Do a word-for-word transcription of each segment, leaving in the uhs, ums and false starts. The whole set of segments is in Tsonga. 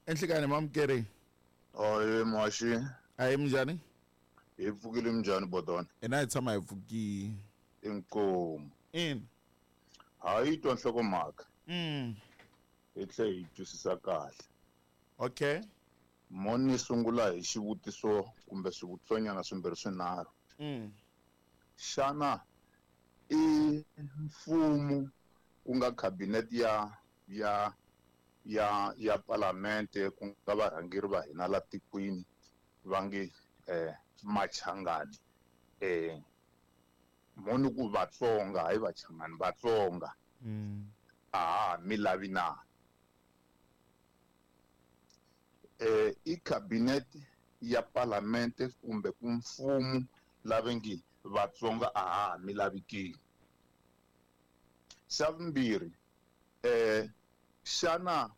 Enhlekani mamukeri. Oye muhaxi. Ayi minjhani? Hi pfukile minjhani bodona? Ina hi tshama hi pfukile. Inkomu. Ina. Ha yi twa nhlokomhaka. Mm. Hi tlhe hi twisisa kahle. Okay. Mo ni sungula hi xivutiso kumbe swivutisonyana swimbirhi swinharhu. Mm. Xana i mfumo ku nga cabinet ya ya ya ya palamente ku nga varhangeri va hina la tikweni va nge eh machangani eh moni ku Vatsonga hayi Vachangani Vatsonga mm. a mi lavi na eh i cabinet ya palamente kumbe ku mfumo lava nge Vatsonga a mi lavi ke. Xa vumbirhi eh xana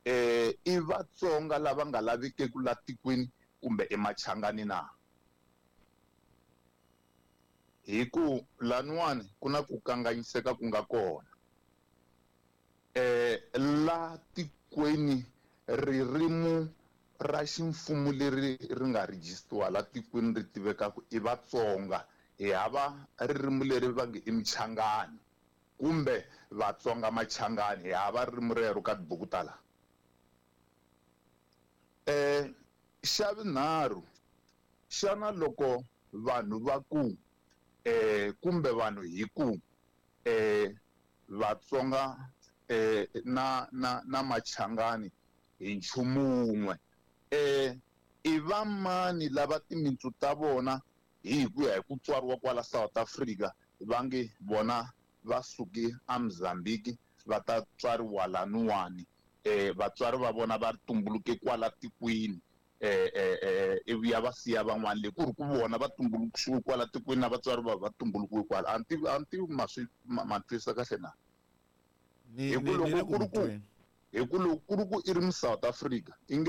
eh i Vatsonga lava nga laviki ku la tikweni kumbe emachangani na? Hi ku laniwani ku na ku kanganyiseka ku nga kona. Eh la tikweni ririmi ra ximfumo leri ri nga registiwa la tikweni ri tivekaka i Vatsonga, hi hava ririmi leri va nge i Mchangani kumbe Vatsonga Machangani, hi hava ririmi rero ka tibuku ta la. Eh xa vunharhu, xana loko vanhu va ku eh kumbe vanhu hi ku eh Vatsonga eh na na na Machangani hi nchumu wun'we, eh i vamani lava timintsu ta vona hi ku ya hi ku tswariwa kwala South Africa va nge vona va suke a Mozambique va ta tswariwa laniwani, eh vatswari va vona va tumbuluke kwala tikweni, eh eh eh ivi ya va siya van'wana le ku ri ku vona va tumbuluxiwe kwala tikweni na vatswari va va tumbulukiwe kwala. A ni tivi, a ni tivi ma swi ma, ma twisisa kahle na? Ni Hi ku ni loko ni le ku ri ku ku hi ku loko ku ri ku i ri mu South Africa i nge